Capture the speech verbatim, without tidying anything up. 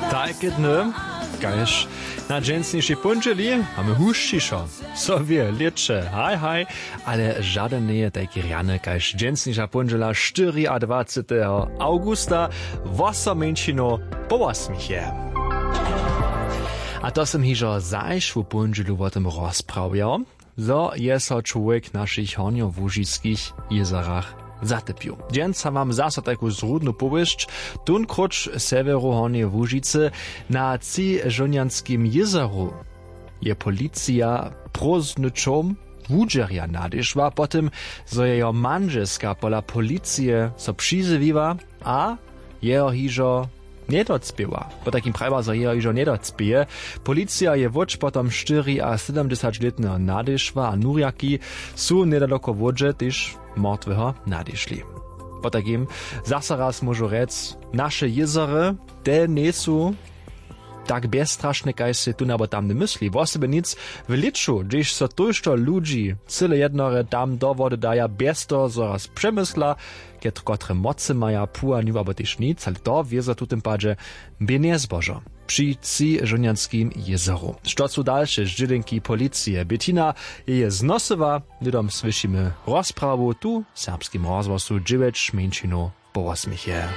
Tajke dny, kaž na dźensnišej póndźeli, mamy hušćišo. So wě lěće, haj haj. Ale žadyn njeje tajki rjany kaž dźensniša póndźela štyriadwaceteho awgusta, wosomjeńšinow po wosmich je. A to sym hižo zašłu póndźelu wo tym rozprawjał, zo je so čłowjek w našich hornjołužiskich jězorach zatypił. Dźensa mam zaso tajku zrudnu powěsć, tónkróć w sewjeru hornjeje łužicy. Na třižónjanskim jězoru je policija prózdny čołm wudźerja nadešła po tym, zo je jeho mandźelska pola policije so přizjewiła a jeho hižo njedocpěła. Potajkim prajiła, zo jeho hižo njedocpěje. Policija je wótš potom štyriasydomdźesaćlětneho nadešła a nurjaki su njedaloko wódźe tež mortweho nadešli. Potajkim zaso raz móžu rjec, naše jězory, te njejsu tak bjezstrašne kaž sej tón abo tamny mysli. Wosebje nic w lěću, hdźež so tójšto ludźi cyle jednore tam do wody daja bjez toho zo raz přemysla, ked kotre mocy maja, puwanju abo tež nic, ale to wězo w tutym padźe bě njezbožo při třižónjanskim jězoru. Što su dalše zdźělenki policije? Betina je je znosyła. Hnydom słyšimy rozprawu tu w serbskim rozhłosu dźewjeć mjeńšinow po wosmich je.